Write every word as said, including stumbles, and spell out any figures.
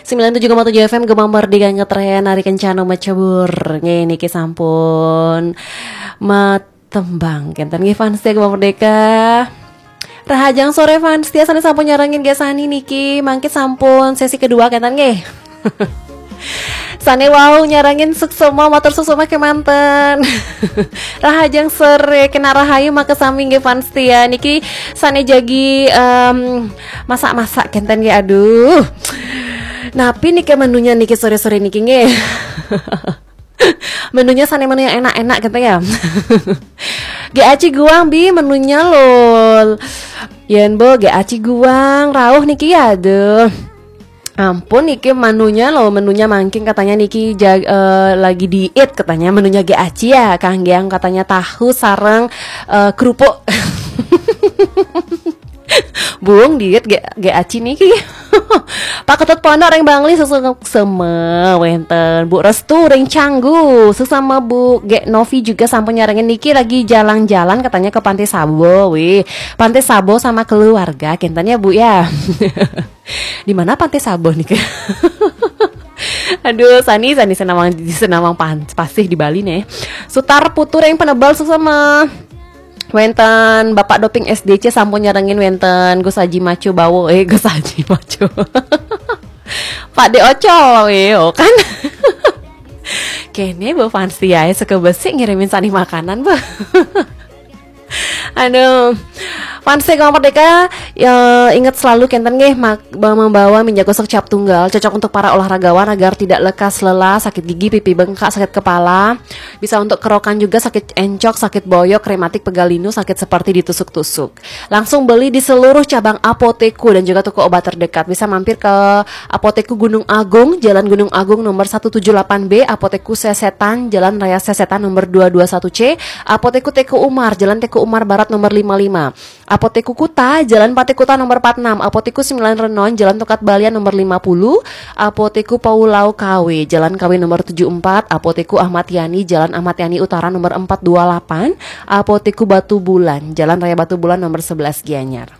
Sembilan tujuh koma tujuh F M Gema Merdeka ngetren, hari kencana macebur. Nggih, niki sampun matembang kenten nggih fans setia Gema Merdeka. Rahajeng sore fans setia sane sampun nyarengin nggih sani niki, mangke sampun sesi kedua kenten nggih. Sane wau nyarengin suksema, matur suksema kemanten. Rahajeng sore, kena rahayu makasami nggih fans setia niki, sane jagi em, masak-masak kenten nggih, aduh. Napi niki menunya niki sore-sore niki nggih? Menunya sane menu yang enak-enak gitu ya. G A C guang bi menunya lol. Yen bo G A C guang rauh niki ya, aduh. Ampun niki menunya loh, menunya mangkin katanya niki jag- eh, lagi diet katanya, menunya G A C ya, kangge yang katanya tahu sareng eh, kerupuk. Bung diet G- G A C niki. Pak Ketut Pondok ring Bangli suksema wenten. Bu Restu ring Canggu suksema Bu. Gek Novi juga sampun nyarengin niki lagi jalan-jalan katanya ke Pantai Sabo. Wih, Pantai Sabo sama keluarga kenten ya Bu ya. Di mana Pantai Sabo nih? Aduh, sani sani senawang senawang pan, pasih di Bali nih. Sutar Putu ring Penebel suksema. Wenten Bapak Doping S D C sampun nyarengin, wenten Gus Haji Maco Bawo, eh Gus Haji Maco. Pak De Ocol, eh, oh kan. Kene bu fans tiae seke besik ngirimin sani makanan bu. Aduh. Fans Gema Merdeka, ya, ingat selalu kenten nggih mak- membawa minyak gosok cap tunggal, cocok untuk para olahragawan agar tidak lekas lelah, sakit gigi, pipi bengkak, sakit kepala, bisa untuk kerokan juga, sakit encok, sakit boyok, rematik, pegal linu, sakit seperti ditusuk-tusuk. Langsung beli di seluruh cabang Apoteku dan juga toko obat terdekat. Bisa mampir ke Apoteku Gunung Agung, Jalan Gunung Agung nomor satu tujuh delapan B, Apoteku Sesetan, Jalan Raya Sesetan nomor dua dua satu C, Apoteku Teku Umar, Jalan Teku Umar Barat nomor lima lima. Apoteku Kuta, Jalan Pate Kuta nomor empat enam, Apoteku Sembilan Renon, Jalan Tokat Balian nomor lima puluh, Apoteku Paulau Kawe, Jalan Kawe nomor tujuh empat, Apoteku Ahmad Yani, Jalan Ahmad Yani Utara nomor empat dua delapan, Apoteku Batu Bulan, Jalan Raya Batu Bulan nomor sebelas Gianyar.